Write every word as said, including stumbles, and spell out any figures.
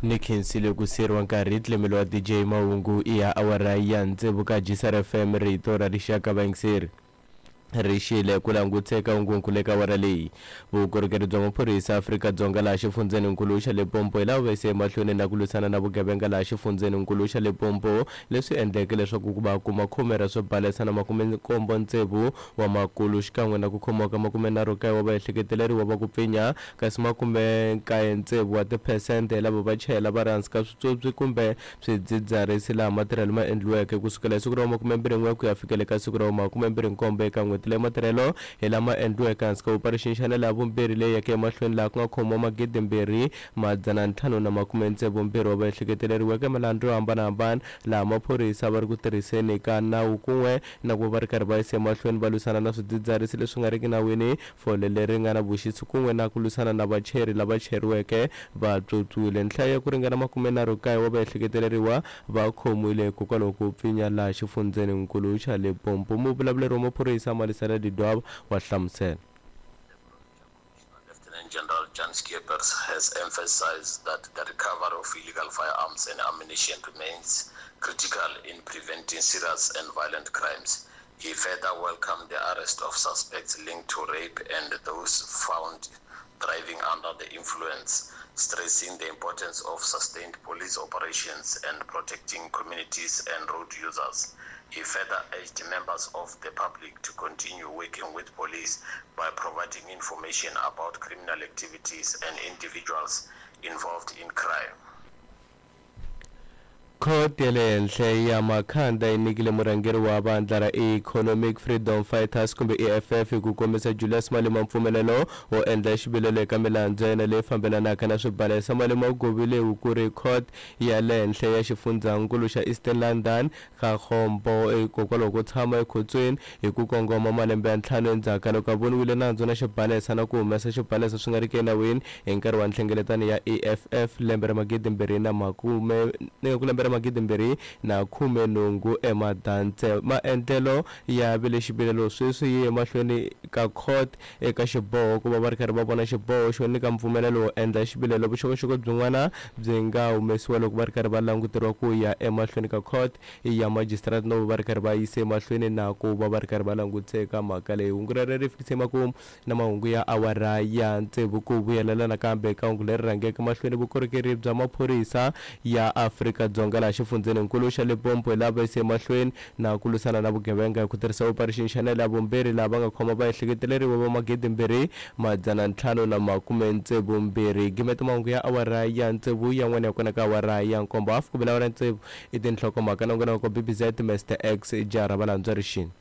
Ni khensile ku siyeriwa nkarhi tlemelo wa D J Mahungu i ya awara ya tsevu ka G S R F M rito ra rixaka vayingiseri. Ri xile ku languteka hungunkulu eka awara leyi. Vukorhokeri bya maphorisa Afrika-Dzonga laha xifundzheninkulu xa Limpopo hi lava va yise emahlweni na ku lwisana na vugevenga laha xifundzheninkulu xa Limpopo, leswi endleke leswaku ku va kuma khume ra swibalesa na makume nkombo tsevu wa makulu xikan'we na ku khomiwa ka makume nharhu kaye wa vaehleketeleriwa va ku pfinya, kasi makume nkaye tsevu wa tiphesente lava va chayela va ri hansi ka switswotswi kumbe swidzidziharisi laha matirhelo ma endliweke kusukela hi siku ra makume mbirhi n'we ku ya fikela eka siku ra makume mbirhi nkombo eka n'hweti leyi matirhelo hi lama endliweke hansi ka operation Shanela ya vumbirhi leyi yeke emahlweni laha ku nga khomiwa magidi mbirhi madzana ntlhanu na makume tsevu mbirhi wa vaehleketeleriweke milandzu yo hambanahambana laha maphorisa va ri ku tirhiseni ka nawu kun'we na ku va ri karhi va yisa emahlweni va lwisana na swidzidziharisi leswi nga riki nawini, fole leri nga na vuxisi kun'we na ku lwisana na vacheri lava cheriweke va tswotswiwile. Nhlayo ya ku ringana makume nharhu kaye wa vaehleketeleriwa va khomiwile hikokwalaho ko pfinya laha xifundzheninkulu xa Limpopo. Muvulavuleri wa maphorisa Malisela Ledwaba wa hlamusela. Lieutenant General Jan Skeepers has emphasized that the recovery of illegal firearms and ammunition remains critical in preventing serious and violent crimes. He further welcomed the arrest of suspects linked to rape and those found driving under the influence, stressing the importance of sustained police operations and protecting communities and road users. He further urged members of the public to continue working with police by providing information about criminal activities and individuals involved in crime. Khoto ya le henhla ya Makhanda yi nyikile murhangeri wa vandla ra Economic Freedom Fighters kumbe E F F hi ku kombisa Julius Malema mpfumelelo wo endla xivilelo eka milandzu ya yena leyi fambelanaka na swibalesa. Malema u govile ku ri court ya le henhla ya xifundzhankulu xa Eastern London Kagombo hikokwalaho ko tshama ekhotsweni hi ku kongoma malembe ya ntlhanu endzhaku ka loko a voniwile nandzu na xibalesa na ku humesa xibalesa swi nga riki enawini hi nkarhi wa nhlengeletano ya E F F lembe ra magidi mbirhi na makume ku lembe ra magidi mbirhi na khume nhungu eMadantse. Maendlelo ya vile xivilelo sweswi yi emahlweni ka court eka xiboho ku va va ri karhi va vona xiboho xo nyika mpfumelelo wo endla xivilelo. Vuxokoxoko byin'wana byi nga humesiwa loko va ri karhi va languteriwa ku ya emahlweni ka court ya magistrate no va ri karhi va yise emahlweni na ku va va ri karhi va langutise eka mhaka leyi. Hungu rero ri fikise makumu na mahungu ya awara ya tsevu ku vuyelela nakambe eka hungu leri rhangeke mahlweni vukorhokeri bya maphorisa ya Afrika-Dzonga laha xifundzheninkulu xa Limpopo lava va yise emahlweni na ku lwisana na vugevenga hi ku tirhisa operation Shanela ya vumbirhi laha va nga khoma vaehleketeleriwa va magidi mbirhi madzana ntlhanu na makume tsevu mbirhi. Gimeta mahungu ya awara ya tsevu yan'wana ya kona ka awara ya nkombo hafu ku vula awara ya tsevu i tinhlokomhaka nongonoko B B Z Mister X Jara valandzwa rixini.